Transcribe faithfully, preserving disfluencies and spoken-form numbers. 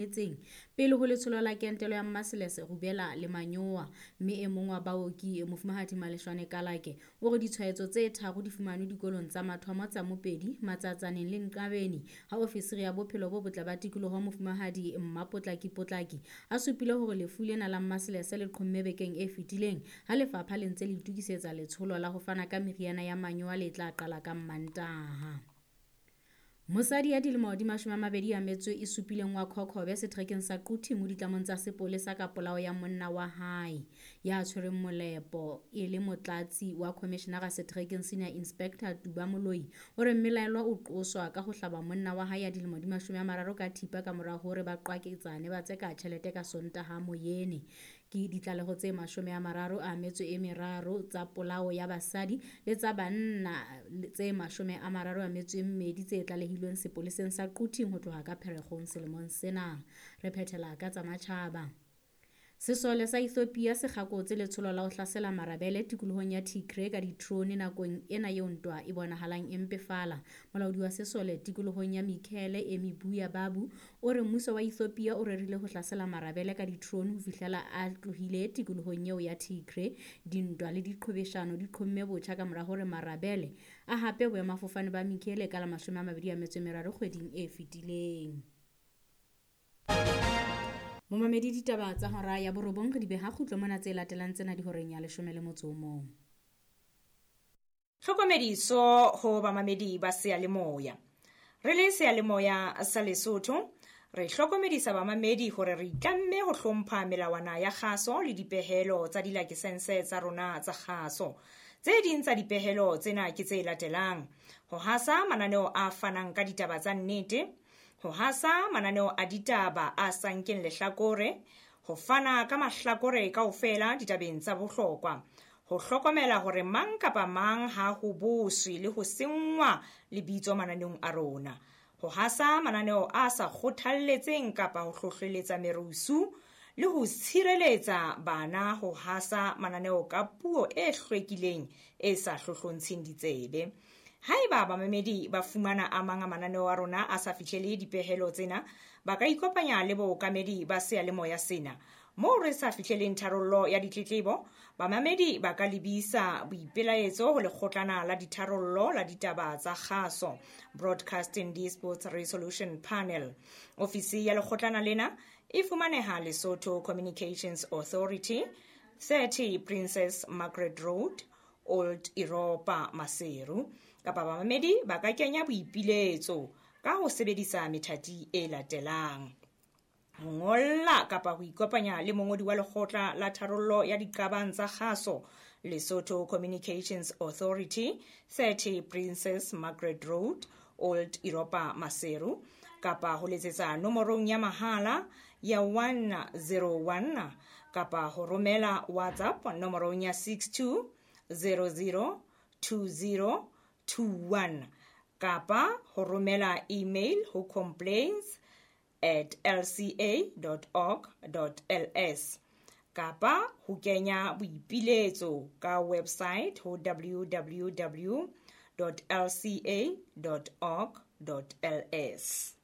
Etseng pele ho letsholo la kentelo ya mmaselese, rubella le manyowa. Mme e mong wa baoki, Mofumahadi Maleshwane Kalake, o re ditshwaetso tse tharo di fumanwe dikolong tsa mathomo tsa Mopedi, Matsatsaneng le Nqabeni. Ha ofisiri ya bophelo bo botle ba tikoloho Mofumahadi Mmapotlaki Potlaki a supile hore lefu lena la mmaselese le qhomme bekeng e fetileng ha lefapha le ntse le itokisetsa letsholo la ho fana ka meriana ya manyowa le tla qala ka Mmantaha. Mosadi ya dilemo di mashome a mabedi a metso e supileng wa Khokhobe seterekeng sa Quthing o ditlamong tsa sepolesa ka polao ya monna wa hae ya tshwereng molepo e le motlatsi wa commissionera seterekeng Senior Inspector Tuba Moloi o re mmelaelwa o qoswa ka ho hlaba monna wa hae ya dilemo di mashome a mararo ka thipa ka mora hore ba qwaketsane ba tseka tjhelete ka Sontaha moyene. Ke ditlaleho tse mashome a mararo a metso e meraro tsa polao ya basadi le tsa banna tse mashome a mararo a metso e mmedi tse tlalehilweng sepoleseng sa Quthing ho tloha ka Pherekgong selemong sena. Re phethela ka tsa matjhaba. Sesole sa Ethiopia se kgakotse letsholo la ho hlasela marabele tikolohong ya Tigray ka ditrone nakong ena eo ntwa e bonahalang e mpefala. Molaodi wa sesole tikolohong ya Mekelle Emibuya Babu o re mmuso wa Ethiopia o rerile ho hlasela marabele ka ditrone ho fihlela a tlohile tikolohong eo ya Tigray. Dintwa le diqhobeshano di qhomme botjha ka mora hore marabele a hape boemafofane ba Mekelle ka la mashome a mabedi a metso e meraro kgweding e fetileng. Momamedi, ditaba tsa hora ya borobong re di beha kgutlo mona, tse latelang tsena di horeng ya leshome le motso o mong. Tlhokomediso ho bamamedi ba seyalemoya. Re le seyalemoya sa Lesotho, re hlokomedisa bamamedi hore re itlamme ho hlompha melawana ya kgaso le dipehelo tsa dilakesense tsa rona tsa kgaso. Tse ding tsa dipehelo tsena ke tse latelang: ho hasa mananeo a fanang ka ditaba tsa nnete, ho hasa mananeo a ditaba a sa nkeng lehlakore, ho fana ka mahlakore kaofela ditabeng tsa bohlokwa, ho hlokomela hore mang kapa mang ha ho boswe le ho senngwa lebitso mananeong a rona, ho hasa mananeo a sa kgothalletseng kapa ho hlohleletsa merusu, le ho tshireletsa bana ho hasa mananeo ka puo e hlwekileng e sa hlohlontsheng ditsebe. Haeba bamamedi ba fumana a mang a mananeo a rona a sa fihlele dipehelo tsena, ba ka ikopanya le bookamedi ba seyalemoya sena. Moo re sa fihleleng tharollo ya ditletlebo, bamamedi ba ka lebisa boipelaetso ho lekgotlana la ditharollo la ditaba tsa kgaso, Broadcasting Disputes Resolution Panel. Ofisi ya lekgotlana lena e fumaneha Lesotho Communications Authority, thirty Princess Margaret Road, Old Europa, Maseru. Kapa bamamedi ba ka kenya boipiletso ka ho sebedisa methati e latelang: ho ngolla kapa ho ikopanya le mongodi wa lekgotla la tharollo ya diqabang tsa kgaso, Lesotho Communications Authority, thirty Princess Margaret Road, Old Europa, Maseru, kapa ho letsetsa nomorong ya mahala ya one zero one kapa ho romela WhatsApp nomorong ya six two zero zero two zero two one kapa ho romela email ho complaints at l c a dot org dot l s kapa ho kenya boipiletso ka website ho w w w dot l c a dot org dot l s.